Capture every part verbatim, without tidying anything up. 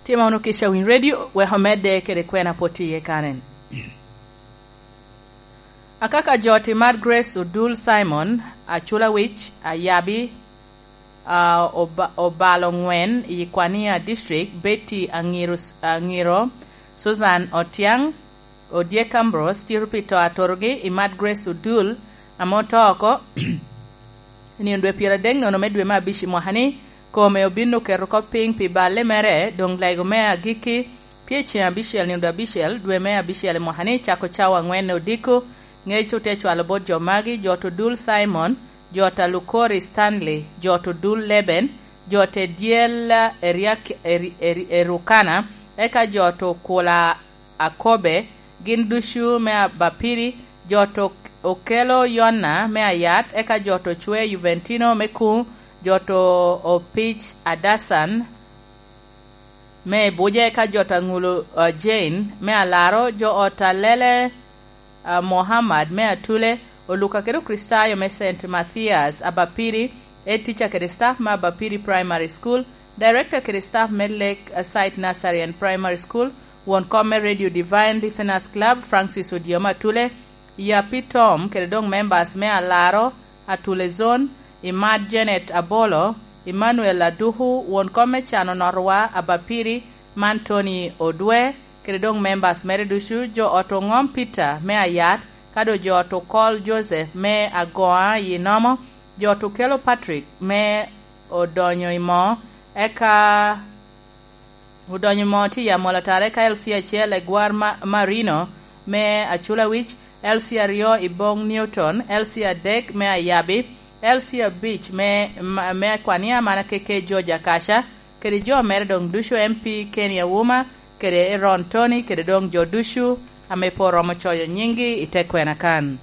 Tye ma wunu kica winy redio, wek omedde kede kwena pwod tye iye kanen. Akaka jo ti Mad Grace Odul Simon, Acula Wic, Ayabi, a, Oba-, Obalo Ŋwen i Kwania District, Betty Aŋiro, Aŋiro, Susan Otiaŋ, Odyek Ambrose, tito pi to atorogi i Mad Grace Odul, ame oto oko, i nino dwe pyeradek nono me dwe me abic i mwaka-ni, kome obin oketo oko piny pi balle mere, doŋ lego me agikki tye i ceŋ abicel, nino dwe abicel, dwe me abicel i mwaka-ni, cako cawa aŋwen odiko. Ŋec ote cwalo bot jo magi: jo to Dul Simon, jo ta Lukori Stanley, jo to Dul Leben, jo te dyel Eriak-, Eri-, Eri-, Erukana, eka jo to Kula Akobe, gin ducu me Abapiri, jo to Okelo Yona me Ayat, eka jo to Cwe Juventino me Kuŋ, jo to Opic Adasan me Ebuje, eka jo to Aŋulo, uh, Jane me Alaro, jo ot Alele, uh, Muhammad me Atule, Oluka kede Okricitayo me Saint Mathias Abapiri, Head Teacher kede staff me Abapiri Primary School, Director kede staff me Lake Site Nursery and Primary School, won kom me Radio Divine Listeners Club, Francis Odyoma Atule, Yapi Tom, kede doŋ members me Alaro, Atule Zone, Imad Janet Abolo, Emmanuel Aduku, won kom me Cano Norwa, Abapiri, man Tony Odwe, kede doŋ members mere ducu, jo ot Oŋom Peter me Ayat, ka doŋ jo ot Okol Joseph me Agoa i Nomo, jo ot Okelo Patrick me Odonyo i Moo, eka Odonyo i Moo tye i Amolo Atara, eka L C acel Egwar Ma-, Marino me Acula Wic, L C aryo i Bong Newton, L C adek me Ayabi, L C abic me, ma-, me Akwania, mana keke George Akaca, kede jo mere doŋ ducu, M P Kenny Auma, kede Aaron Tony, kede doŋ jo ducu ame pe oromo coyo nyinggi i te kwena kan.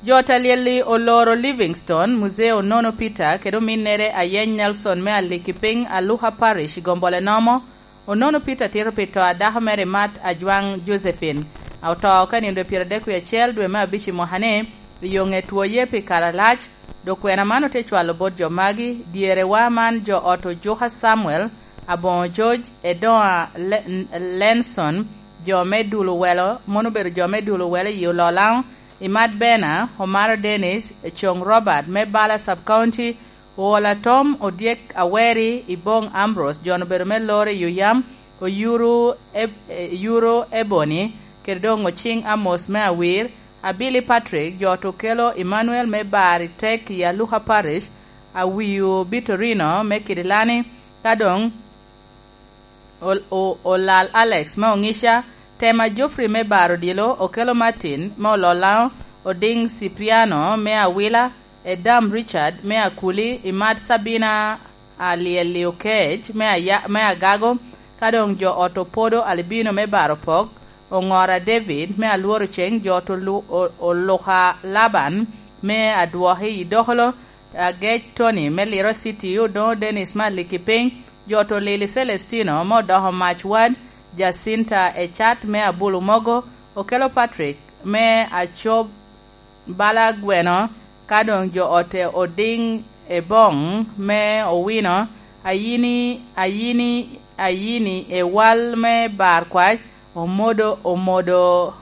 Jo ta lyel-li oloro Livingstone, Muzee Onono Peter, kede ominnere Ayeny Nelson me Alikipiny, Aluka Parish, i Gombole Nomo. Onono Peter tito pi to a dako mere Mat Ajwaŋ Josephine, a oto oko i nino dwe pyeradek wie acel dwe me abic i mwaka-ni, i yo ŋe twoye pi kare alac. Dok kwena man ote cwalo bot jo magi: dyerewa man, jo ot Ojuka Samuel, Aboŋo George, Edoŋa Le-, Lenson, jo me Dul Owelo, mon obedo jo me Dul Owelo i Ololaŋo, Imat Bena, Omaro Dennis, Coŋ Robert me Bala Sub County, Oola Tom, Odyek Aweri, Iboŋ Ambrose, jo obedo me Lore i Oyam, Oyuru Eb-, eh, Yuro Ebony, kede doŋ Ociŋ Amos me Awir, Abili Patrick, jo ot Okelo Emmanuel me Bar i Tek i Aluka Parish, Awiu Bitorino me Kidilani, ka doŋ Ol-, o-, Olal Alex me Oŋica, Tema Geoffrey me Bar Odilo, Okelo Martin me Ololaŋo, Odiŋ Cipriano me Awila, Edam Richard me Akuli, Imat Sabina Alyel-li Okec me Aya-, me Agago, ka doŋ jo ot Opodo Albino me Bar Opok, Oŋora David me Alworo Ceŋ, jo ot Olu-, O-, Oluka Laban me Adwoki i Dokolo, Agec Tony me Liro City, Odoŋo Dennis me Aliki Piny, jo ot Olili Celestino me Odoko Mac Wad, Jacinta Ecat me Abulu Mogo, Okelo Patrick me Acob Bala Gweno, ka doŋ jo ot Odiŋ Eboŋ me Owino, Ayini, Ayini, Ayini Ewal me Bar Kwac, Omodo, Omodo,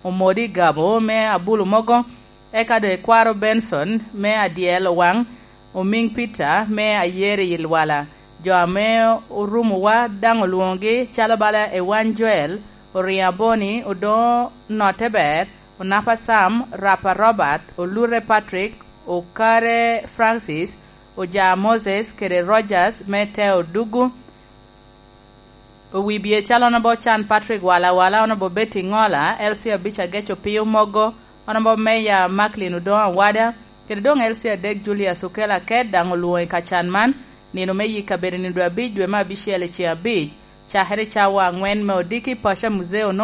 Omodi Gabo me Abulu Mogo, eka doŋ Ekwaro Benson me Adyel Owaŋ, Omiŋ Peter me Ayeri i Lwala. Jo ame orumowa daŋ olwoŋogi calo bala Ewany Joel, Oriŋo Aboni, Odoŋo Notte Ber, Onapa Sam, Rapa Robert, Olute Patrick, Okare Francis, Oja Moses, kede Rogers me Teo Dugu. Owibie calo Honourable Can Patrick Wala Wala, Honourable Betty Ŋola, L C abic Ageco Pio Mogo, Honourable Mayor Macklin Odoŋo Awada, kede doŋ L C adek Julius Okelo Aket daŋ olwoŋo i kacan man. Nino me yik kabedo nino dwe abic dwe me abicel i ceŋ abic, cakere cawa aŋwen me odiki paco a Muzeo